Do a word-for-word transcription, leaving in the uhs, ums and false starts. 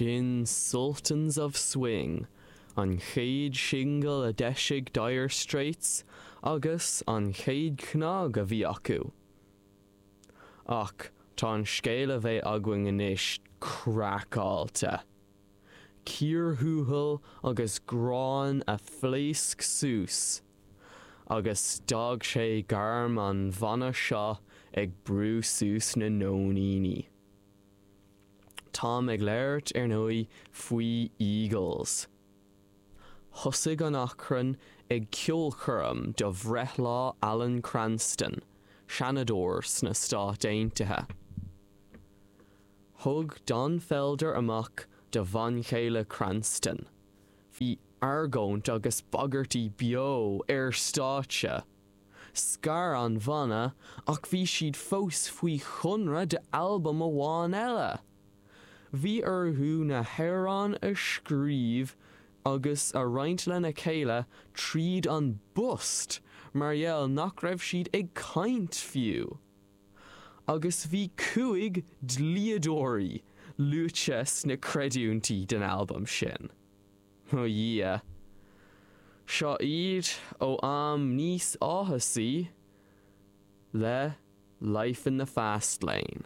Sin Sultans of Swing, an chéad singil a d'eisigh Dire Straits agus an chéad chnag a bhí acu. Ach tá an scéal a bheidh againn anois craiceáilte. Cíor thuathail agus gráin a phléasc suas, agus d'fhág sé gairm an bhanna seo ag brú suas na nóiníní. Táim ag labhairt ar ndóigh faoi Eagles. Thosaigh an achrann ag ceolchoirm do bhreithlá Alan Cranston, Seanadóir sna Stáit Aontaithe. Thug Don Felder amach do bhanchéile Cranston. Bhí argóint agus bagairtí beo ar stáitse. Scar an banna ach bhí siad fós faoi chonradh d'albam amháin eile. Bhí orthu na hamhráin a scríobh agus a roinnt lena chéile tríd an bpost mar gheall nach raibh siad ag caint fiú. Agus bhí cúig dlíodóirí luaite sna creidiúintí den albam sin. Ó Dhia. Seo iad ó am níos áthasaí le Life in the Fast Lane.